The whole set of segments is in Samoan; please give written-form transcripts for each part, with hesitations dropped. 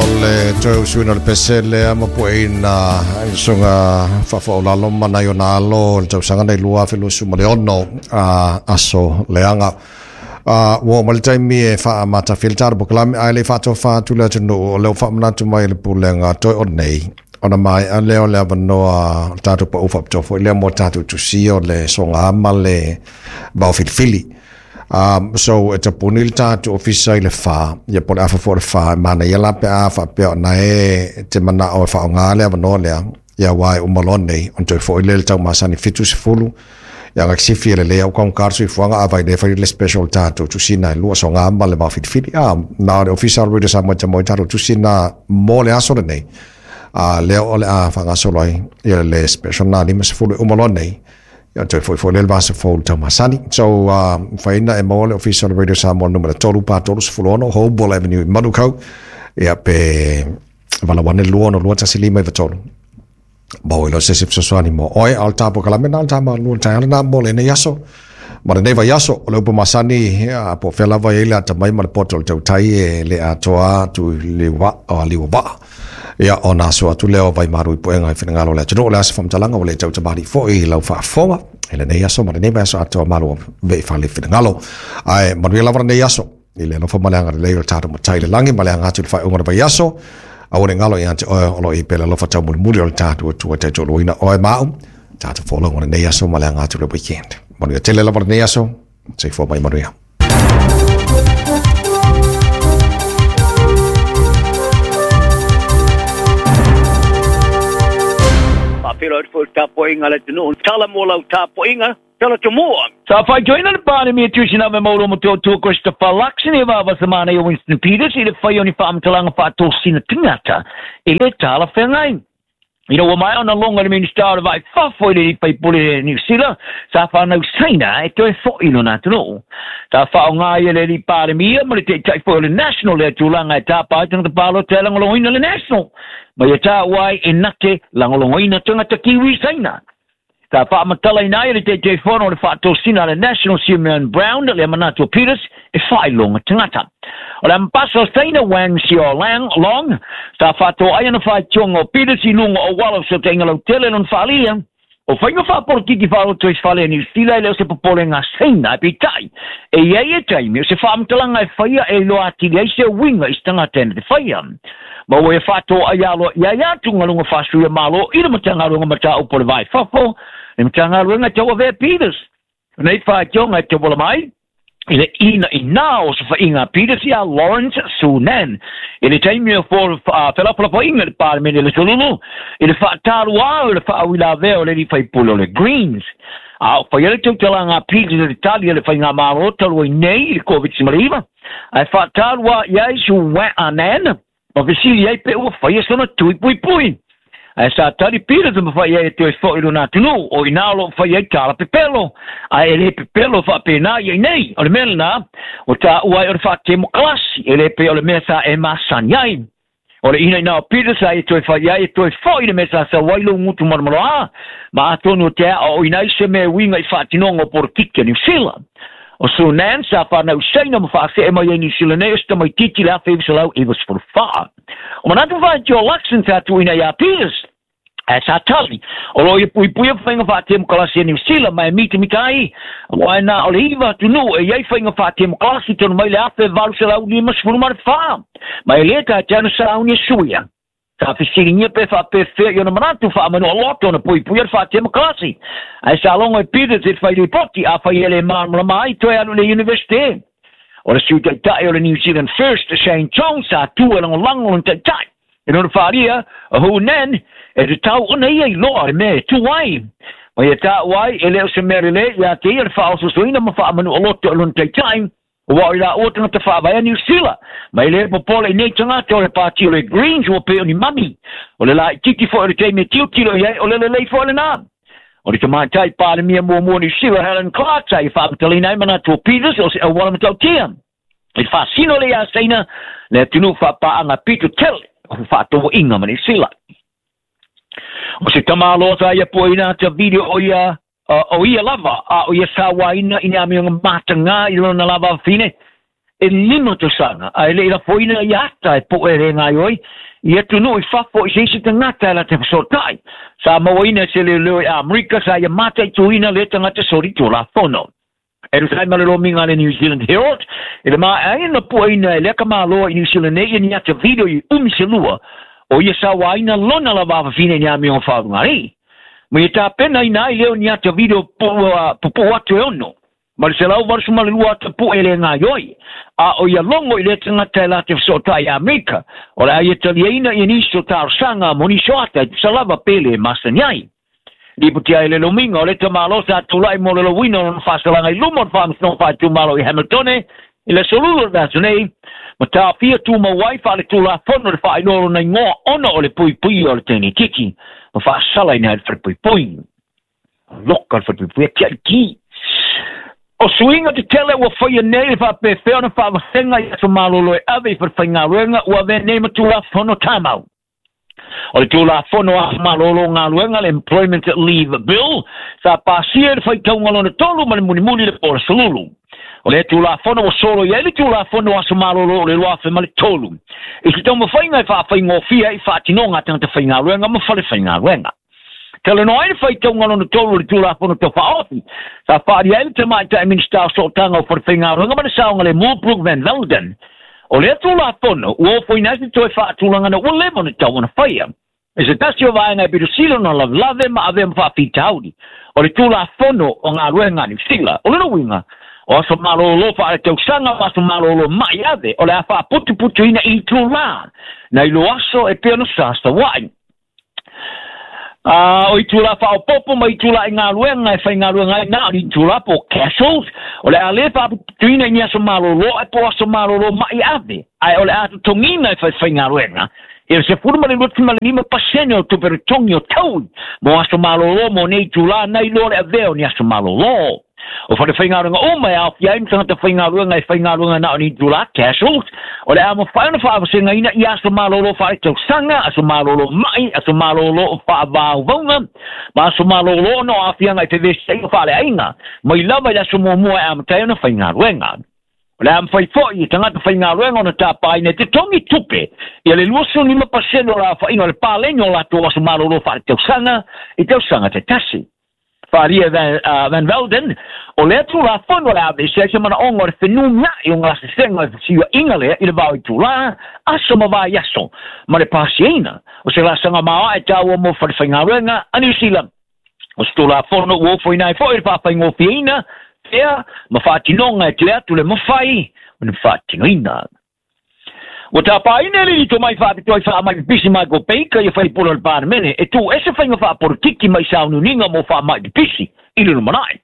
O le toe usuina o le pese lea ma pueina i susuga faafoaulalo ma nai ona alo i le tausaga nei 2026 aso leaga. Ua oo mai le taimi e faamatafia le tatou polokalame ae le i faatofa atu le atunuu o lea ua faamanatu mai e le pulega toe o nei ona maea lea o le avanoa o le tatou pau faapitoa foi lea mo tatou tusia o le soga ma le vaofilifili. So e tapuni le tatou ofisa i le 4, ia po o le afa foi o le 4, e manaia la pe a faapea o na e te manao e faaaoga le avanoa lea, ia aua e uma loa nei, ona toe foi lea i le tau masani 70, ia ga sifi e lelei au kaugata le soifuaga, a vai le fai le special tatou tusina e lua soga ma le vaofilifili. Na o le ofisa o le Radio Samoa e te mo i tatou tusina mo le aso lenei, lea o le a faagasolo ai ia le special na 50 e uma loa nei, ia toe foi foi lea le vasa fou le taumasani. So, faina e maua le ofisa o le Radio Samoa numera 3 pa 36 Hoball Avenue i Manukau, ia pe valawane 2 6 2 1 5 9 3. Mau i lo se se fesoasoani mo oe, a o le tapo kalame na o le tama lua le taeao lena mo lenei aso. Ma lenei vaiaso, o le upu masani, ia, po o fea lava e i ai le atamai ma le poto o le tautai e le atoa atu i le liua vaa. Ia, ona aso atu lea o vaimalu i puega i finagalo o le atunuu. O le a se faamatalaga ua le tautamalii foi i lau faafofoga i lenei aso ma lenei vaiaso atoa malo vei fale finagalo. Ae manuia lava lenei aso i le alofa ma le agalelei o le tatou Matai i le lagi ma le aga atu i le faaiuga o le vaiaso. Aua ne i galo ia te oe o lo o i ai pea le alofa taumulimuli o le tatou Atua e taitoaluaina oe ma au. Tatou folauga o lenei aso ma le aga atu i le weekend. Manuia tele lava lenei aso. Soifua mai manuia. Faafeiloai atu foi i le tapuaiga a le atunuu. Tala mo lau tapuaiga, tala tomua. Sa faitioina le Palemia Tuisiname Mauro Motootua Christopher Luxon e vavasamana i Winston Peters i le fai o ni faamatalaga faatosina tagata e le talafeagai. Ina ua maea ona logo e le Minisita o le Vai Fafo i le Alii Faipule Niu Sila, sa fanau Saina e toe fo'i i lona atunuu. Sa faaaoga ai e le Alii Palemia ma le Taitai foi o le National lea tulaga e tapa ai tagata palota e lagolagoina le National, ma ia taua ai e na te lagolagoina tagata Kiwi Saina. Sa faamatalaina ai e le Taitaifono o le faatosina a le National Simeon Brown lea manatu o Peters e faailoga tagata. O le ambasa o Saina Wang Xiaolang Long sa faatoai ana faitioga o Peters i luga o auala o fesootaiga lautele lona faaalia. O faiga faapolokiki faaoto i fale a Niu Sila e le o se popolega a Saina, ae peitai, e i ai e taimi o se faamatalaga e faia e iloa atili ai se uiga i se tagata e na te faia. Ma ua ia faatoai aloaia ai atugaluga faasuia Malo i le Matagaluega Mataupu o le Va i Fafo, le Matagaluega e tauavea Peters. O nei faitioga e tauala mai i le inaina o sofaiga a Peters iā Lawrence Sunan i le taimi o felafolafoaiga i le Palemene i le Solulu i le faataluā o le faauilavea o le alii faipule o le Greens. A o faia le tautalaga a Peters i le tali a le faigamalo talu ai nei i le Koviti-19, ae faataluā i ai Sunan ma fesili ai pe ua faia sona tui puipui. Ae sa tali Peters ma fai ai e toe foi i lona atunuu, o i ina o lo o fai ai tala pepelo, ae e le pepelo faapena ia i nei. O le mea lena, ua taua ai o le faatemokalasi, e le pei o le mea sa e masani ai. O le inaina o Peters a ia toe fai ai e toe foi i le mea sa sau ai lou gutu malomaloa, ma atonu o te aoaoina ai se mea e uiga i faatinoga o polokiki a Niu Sila. O Sunan sa fanau i Saina ma faasee mai ai Niu Sila nei o se tamaitiiti i le 1994. O manatu faitio Luxon sa tuuina iā Peters, ae sa tali, o lo o ia puipuia faiga faatemokalasi a Niu Sila ma e mitamita ai, aua e na o le iva atunuu e i ai faiga faatemokalasi tonu mai le 1854, ma e lē tatea ona sauni e suia. Sa fesiligia pe faapefea i ona manatu faamanoa loto ona puipuia le faatemokalasi, ae sa logo e Peters i le fai lipoti, afai e le malamalama ai toe alu i le Universite. O le Sui Taitai o le New Zealand First, Shane Chong, sa tu e lagolago lona taitai. I lona faaalia, o Hu Nan, e tatau ona ia iloa le mea e tu ai. Ma ia taua ai, e le o se mea lelei ia te ia le faaososoina ma faamanu'a loto i lona taitai, aua o i laua tagata faavae a Niu Sila. Ma e le popole i nei tagata o le pati o le Greens ua pei o ni mami. O le laititi foi o le taimi e tilotilo i ai, o le lelei foi lena. O le tamaitai Palemia muamua o Niu Sila, Helen Clark, sa ia faamatalaina ai manatu o Peters o se auala matautia. I le faasino lea iā Saina, le atunuu faapaaga pito tele o fefaatauaiga ma Niu Sila. O se tamaloa sa ia puaina ata video o ia o ia lava a o ia sauaina i ni amioga matagā i lona lava afafine. E 5 tausaga ae le i lafoina ia ata e po'e le gaioi ia atunuu i fafo i se isi tagata e la te fesoota'i sa mauaina e se leoleo i Amerika sa ia mataituina lea tagata solitulafono. E tusa ai ma le lomiga a le New Zealand Herald i le maeaina pueina e lea kamāloa i New Zealand nei ia ni ata video i umi se lua o ia sauāina lona lava afafine i ni amioga faalugalii. Ma ia tapenaina ai lea o ni ata video pupuu atu e 6 ma le 182 ata pu'e e le gaioi a o ia logo i lea tagata e latou fesoota'i i Amerika o le a ia taliaina ia nisi o talosaga mo nisi o ata e tusa lava pe lē masani ai. Lipoti ai le lomiga o le tamālo sa tula'i mo le louina o lona faasalaga i luma o le faamasinoga faaitumalo i Hamiltone i le aso lulu o le vaiaso nei ma taofia tumau ai faaletulafono le faailoa lona igoa ona o le puipuia o le tenetiti ma faasalaina ai le falepuipui. Loka le falepuipui e tia'i. O suiga tetele ua faia nei le faapefea ona faavasega i aso malolo e ave i falefaigaluega ua avea nei ma tulafono tamau. O le tulafono aso malolo o galuega le Employment Leave Bill sa pasia i le faitauga lona tolu ma le mulimuli le po o le solulu. O lea tulafono ua solo i ai le tulafono aso malolo o le 2003. I se taumafaiga e faafaigofie ai faatinoga a tagata faigaluega ma falefaigaluega. Talanoa ai le faitauga lona tolu o le tulafono tau faaofi sa faalia ai le tamaitai Minisita o Sootaga o Falefaigaluega ma le Saogalemu Brooke Van Velden. O lea tulafono ua ofoina ai se toe faatulagana ua leva ona tatau ona faia. E se tasi o vaega e pito sili ona lavelave ma avea ma faafitauli o le tulafono o galuega a Niu Sila. O lona uiga, o aso malōlō faaletausaga ma aso malōlō ma'i ave o le a faaputuputuina i itulā nai lo aso e pei ona sasaua'i. O itulā faaopoopo ma itulā i galuega e faigaluega ai na o ni itulā po o casuals o le a lē faaputuputuina i ni aso malōlō ae po o aso malōlō ma'i ave ae o le a totogiina e faifaigaluega i le 12.5% o tupe totogi o taui mo aso malōlō mo nei itulā nai loa le avea o ni aso malōlō. O falefaigaluega uma e aofia ai ma tagata faigaluega e faigaluega na o ni itulā casuals o le a mafai ona faavasegaina i aso malōlō faaletausaga, aso malōlō ma'i, aso malōlō o faavauvauga ma aso malōlō ona o aafiaga i fevesiaiga faaleaiga mai lava i le aso muamua e amata ai ona faigaluega. O le a mafai fo'i i tagata faigaluega ona tapāina e totogi tupe ia le 25% o le aofaiga o le paleni o latou aso malōlō faaletausaga i tausaga taitasi. Faalia Van Velden, o lea tulafono o le a aveese ai se manaoga o le fenumia'i o gasesega o le fesiua'iga lea i le vao itulā, aso ma vaiaso, ma le pasiaina o se laasaga maoaʻe taua mo falefaigaluega a Niu Sila. O se tulafono ua ofoina ai fo'i le faafaigofieina fea ma faatinoga e tele atu le mafai ona faatinoina. Ua tapāina e le lito mai faapitoa i faamai pipisi Michael Baker ia faipule o le Palemene e tuuese faiga faapolitiki mai sauniuniga mo faamai pipisi i le lumana'i.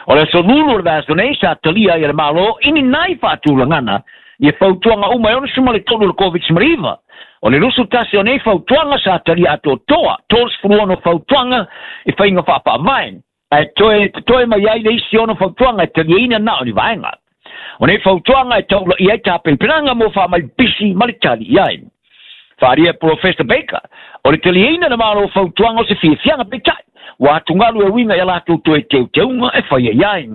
O le aso lulu o le vaiaso nei sa talia ai e le Malo i ni nai faatulagana ia fautuaga uma e 63 o le Covid-19. O le 21 o nei fautuaga sa talia atoatoa, 36 fautuaga i faiga faafaavae, ae toe totoe mai ai le isi 6 fautuaga e taliaina na o ni vaega. O nei fautuaga e taula'i ai tapenapenaga mo faamai pipisi ma le tali i ai. Faalia Professor Baker, o le taliaina le Malo fautuaga o se fiafiaga peitai, ua atugalu e uiga ia latou toe teuteuga e faia i ai.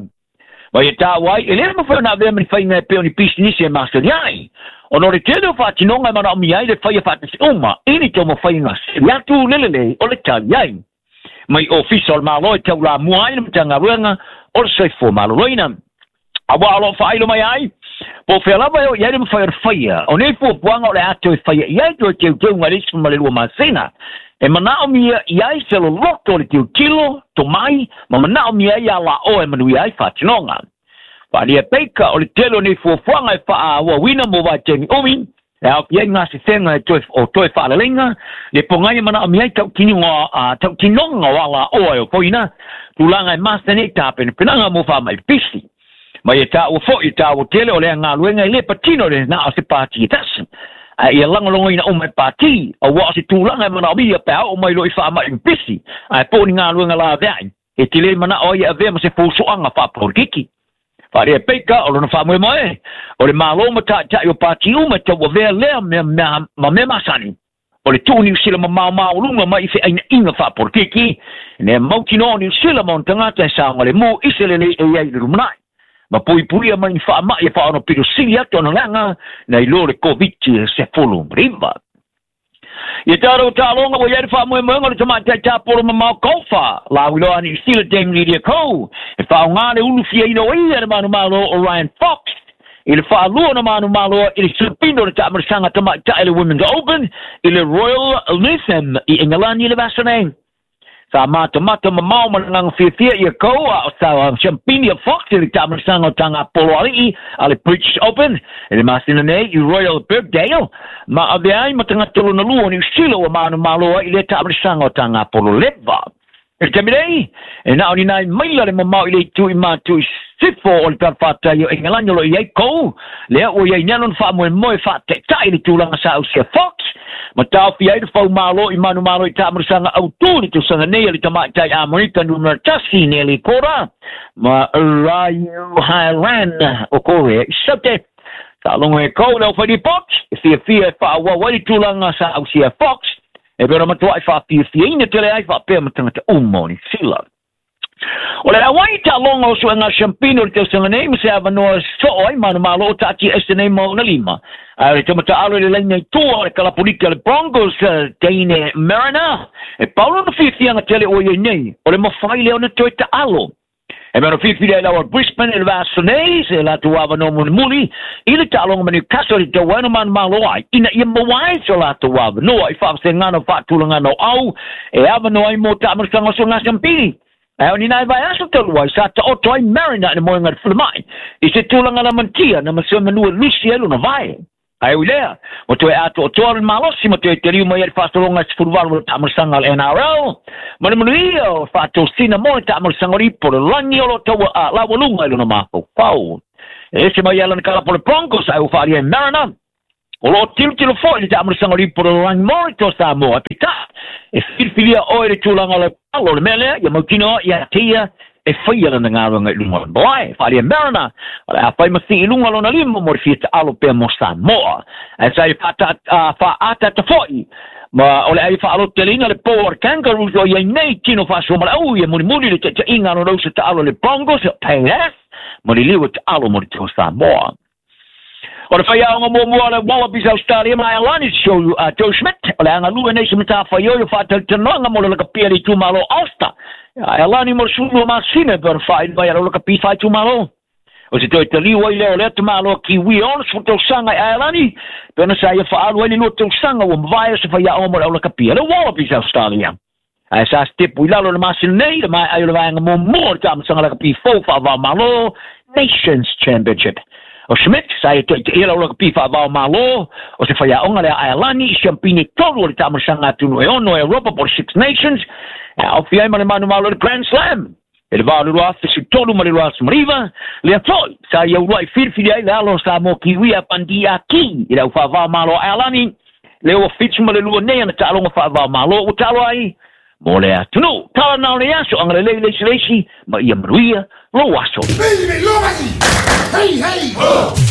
Ma ia taua ai, e lē mafai ona avea ma ni faiga e pei o ni pisinisi e masani ai. Ona o le tele o faatinoga e manaomia ai le faia faatasi uma i ni taumafaiga sili atu le lelei o le tali ai. Mai ofisa o le Malo e taulamua ai le Matagaluega o le Soifua Maloloina. Auā o lo o faailo mai ai, po o fea lava e oo i ai le mafai o le faia o nei fuafuaga o le a toe faia i ai toe teuteuga i le isi ma le 2 masina. E manaomia i ai se loloto o le tilotilo, tomai, ma manaomia ai alaoa e manuia ai faatinoga. Faalia Baker o le tele o nei fuafuaga e faaauauina mo vaitaimi umi, e aofia ai gasesega e toe o toe faaleleiga, le pogai e manaomia ai tautinoga o alaoa e ofoina, tulaga e masani ai tapenapenaga mo faamai pipisi. Mai e taua fo'i e taua tele o lea galuega e lē patino le na o se pati e tasi. Ae ia lagolagoina uma e pati, auā o se tulaga e manaomia pe a oo mai loa i faama'i pipisi, ae po o ni galuega lavea'i, e telē mana'o ai e avea ma se foso'aga faapolitiki. Faalia Baker o lona faamoemoe, o le Malo ma ta'ita'i o pati uma e tauavea lea mea ma mea masani. O le tuu Niu Sila mamao-maoluga mai i fe'aina'iga faapolitiki, ina ia mautinoa o Niu Sila ma ona tagata e saogalemu i se lelei e i ai i le lumana'i. Ma puipuia mai ni faamaʻi e faaono pito sili atu ona leaga nai lo le Koviti-19. Ia tatou taaloga ua i ai le faamoemoega o le tamaitai tapolo mamao Golfa lauiloa Niu Sila Dame Lydia Ko e faaaogā le ulufiaina o ia le manumalo o Ryan Fox i le faalua ona manumalo i le siampiina o le taamaisaga tamaitai le Women's Open i le Royal Lytham i Engelani i le vasa nei. Sa matamata mamao ma le agaga fiafia ia Ko a o sa siampini a Fox i le taamaisaga o tagapolo alii a le British Open i le masina nei i Royal Birkdale ma avea ai ma tagata lona lua o Niu Sila ua manumalo ai i lea taamaisaga o tagapolo leva. I le taimi nei, e na o ni nai maila le mamao i le itu i matu i sisifo o le talafatai o Engelani o lo o i ai Ko, lea ua i ai nei lona faamoemoe faataitai i le tulaga sa ausia Fox, ma taofia ai le faumalo i manumalo i taamaisaga autū i le tausaga nei a le tamaitai Amerika numera tasi Nelly Korda ma Ryu Hae-ran o Korea i Saute. Faalogo e Ko le aufai lipoti, e fiafia e faaauau ai le tulaga sa ausia Fox, e pei ona matuai faafiafiaina tele ai faapea ma tagata uma o Niu Sila. O le auai taaloga o suega siampini o le tausaga nei ma se avanoa e soo ai manumalo o taatia ese nei ma ona lima. Ae o le tamataalu i le laina i tua o le kalapulika le Broncos Deine Mariner, e pau lona fiafiaga tele ua i ai nei, o le mafai lea ona toe taalo. E mea ona filifili ai laua Brisbane i le vaiaso nei se latou avanoa mulimuli i le taaloga ma Newcastle i tau ai ona manumalo ai ina ia maua ai so latou avanoa i faavasegana o faatulagana o au e avanoa ai mo taamaisaga o suega siampini. Ae o ni nai vaiaso talu ai sa taoto ai Mariner i le moega i le falemai i se tulaga lamatia na ma se manu e lusi ai lona vae. Ae ui lea, ua toe atoatoa le malosi ma toe taliu mai ai le faasologa e 18 o le taamaisaga a le NRL, ma le manuia o faatosina mo le taamaisaga o le ipu o le lagi o lo o taua a laualuga i lona mafaufau. E ese mai ai lana kalapu o le Broncos ae ua faaalia e Mariner, o lo o tilotilo foi i le taamaisaga o le ipu o le lagi mo le Toa Samoa. Ae peitai, e filifilia oe i le tulaga o lau alo o le mea lea, ia mautinoa ia te ia e faia lana galuega i luga o le malae. Faaalia Mariner, o le a fai ma sii i luga lona lima mo le fia taalo pea mo Samoa. Ae sa ia faaataata foi ma o le a ia faalototeleina le po o le Kangaroos o i ai nei tino faasoa malaau ia mulimuli le taitaiga a lona uso taalo le Broncos o Payas ma le liu e taalo mo le Toa Samoa. O le faiaoga muamua o le Wallabies Australia ma Ailani Joe Schmidt, o le a galue nei se matafaioi o faatalatalanoaga mo le lakapi a le itumalo Ulster. Ailani mo le 12 masina e pei ona faaili mai a le lakapi faaitumalo. O se toe taliu ai lea o lea tamaloa Kiwi e 60 tausaga i Ailani, pei ona sa ia faaalu ai le 2 tausaga ua mavae o se faiaoga mo le aulakapi a le Wallabies Australia. Ae sa sitepu i lalo i le masina nei, le maea ai o le vaega muamua o le taamilosaga lakapi fou faava-o-Malo, Nations Championship. O Schmidt, sa ia taitaia lau lakapi faava-o-Malo, o se faiaoga lea Aelani i siampini e 3 o le taamilosaga atunuu e 6 e Europa po o le Six Nations, e aofia ai ma le manumalo i le Grand Slam i le 2013 ma le 2019, lea foi sa ia uluai filifili ai le alo o Samoa Kiwi a Pandi Aki i le au faava-o-Malo a Aelani, lea ua 72 nei ana taaloga faava-o-Malo ua taalo ai mo le atunuu. Tala na o le aso, agalelei le isi le isi, ma ia manuia lou aso. Hey, hey, ho!